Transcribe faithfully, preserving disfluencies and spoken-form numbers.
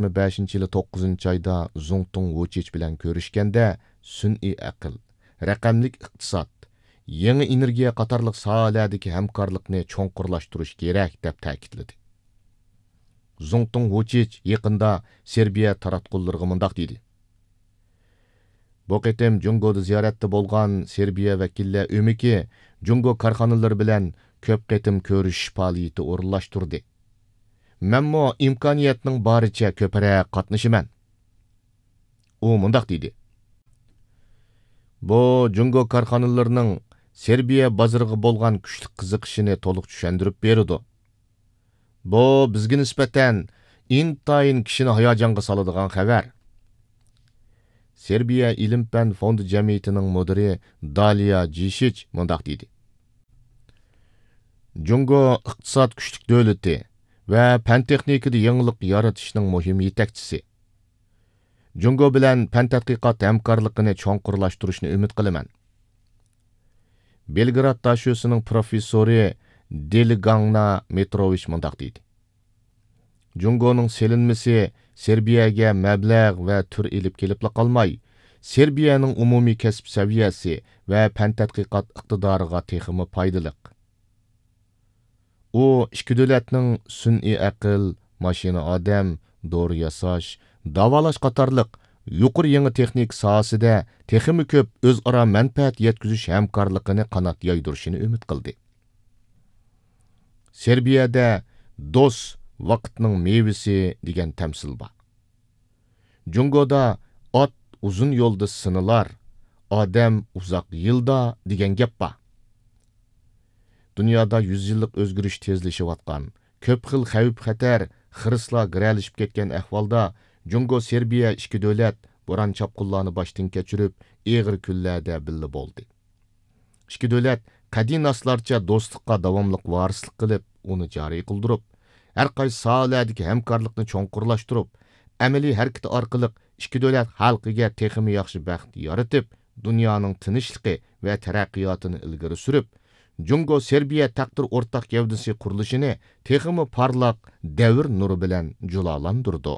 يىگىرمە بەشىنچى يىلى توققۇزىنچى ئايدا زۇڭتۇڭ ۋۇچىچ بىلەن كۆرۈشكەندە، سۈنئىي ئەقىل، رەقەملىك ئىقتىساد، يېڭى ئېنېرگىيە قاتارلىق ساھەلەردىكى ھەمكارلىقنى چوڭقۇرلاشتۇرۇش كېرەك، دەپ تەكىتلىدى. زۇڭتۇڭ ۋۇچىچ يېقىندا سېربىيە تاراتقۇلىرىغا مۇنداق دېدى: بۇ قېتىم جۇڭگودا زىيارەتتە بولغان سېربىيە ۋەكىللەر ئۆمىكى جۇڭگو كارخانىلىرى بىلەن كۆپ قېتىم كۆرۈشۈش پائالىيىتى ئورۇنلاشتۇردى. مەنمۇ ئىمكانىيەتنىڭ بارىچە كۆپرەك قاتنىشىمەن. ئۇ مۇنداق دېدى: بۇ جۇڭگو كارخانىلىرىنىڭ سېربىيە بازىرىغا بولغان كۈچلۈك قىزىقىشىنى تولۇق چۈشەندۈرۈپ بېرىدۇ. بۇ بىزگە نىسبەتەن ئىنتايىن كىشىنى ھاياجانغا سالىدىغان خەۋەر. سېربىيە ئىلىم-پەن فوندى جەمئىيىتىنىڭ مۇدىرى دالىيا جىشىچ مۇنداق دېدى: جۇڭگو ئىقتىساد كۈچلۈك دۆلىتى ۋە پەن-تېخنىكىدا يېڭىلىق يارىتىشنىڭ مۇھىم يېتەكچىسى. جۇڭگو بىلەن پەن-تەتقىقات ھەمكارلىقىنى چوڭقۇرلاشتۇرۇشنى ئۈمىد قىلىمەن. بېلگراد داشۆسىنىڭ پروفېسسورى دېلىگاڭنا مېتروۋىچ مۇنداق دېدى: جۇڭگونىڭ سېلىنمىسى سېربىيەگە مەبلەغ ۋە تۈر ئېلىپ كېلىپلا قالماي، سېربىيەنىڭ ئومۇمىي كەسىپ سەۋىيەسى ۋە پەن-تەتقىقات ئىقتىدارىغا تېخىمۇ پايدىلىق. ئۇ ئىككى دۆلەتنىڭ سۈنئىي ئەقىل، ماشىنا ئادەم، دورا ياساش، داۋالاش قاتارلىق يۇقىرى يېڭى تېخنىكا ساھەسىدە تېخىمۇ كۆپ ئۆزئارا مەنپەئەت يەتكۈزۈش ھەمكارلىقىنى قانات يايدۇرۇشىنى ئۈمىد قىلدى. سېربىيەدە «دوست ۋاقىتنىڭ مېۋىسى» دېگەن تەمسىل بار. جۇڭگودا «ئات ئۇزۇن يولدا سىنىلار، ئادەم ئۇزاق يىلدا» دېگەن گەپ بار. دۇنيادا يۈز يىللىق ئۆزگىرىش تېزلىشىۋاتقان، كۆپ خىل خەۋپ-خەتەر، خىرىسلار گىرەلىشىپ كەتكەن ئەھۋالدا، جۇڭگو سېربىيە ئىككى دۆلەت بوران-چاپقۇنلارنى باشتىن كەچۈرۈپ، ئېغىر كۈنلەردە بىللە بولدى. ئىككى دۆلەت قەدىناسلارچە دوستلۇققا داۋاملىق ۋارىسلىق قىلىپ، ئۇنى جارى قىلدۇرۇپ، ھەر قايسى ساھەلەردىكى ھەمكارلىقنى چوڭقۇرلاشتۇرۇپ، ئەمەلىي ھەرىكىتى ئارقىلىق ئىككى دۆلەت خەلقىگە تېخىمۇ ياخشى بەخت يارىتىپ، دۇنيانىڭ تىنچلىقى ۋە تەرەققىياتىنى ئىلگىرى سۈرۈپ، جۇڭگو سېربىيە تەقدىر ئورتاق گەۋدىسى قۇرۇلۇشىنى تېخىمۇ پارلاق دەۋر نۇرى بىلەن جۇلالاندۇرىدۇ.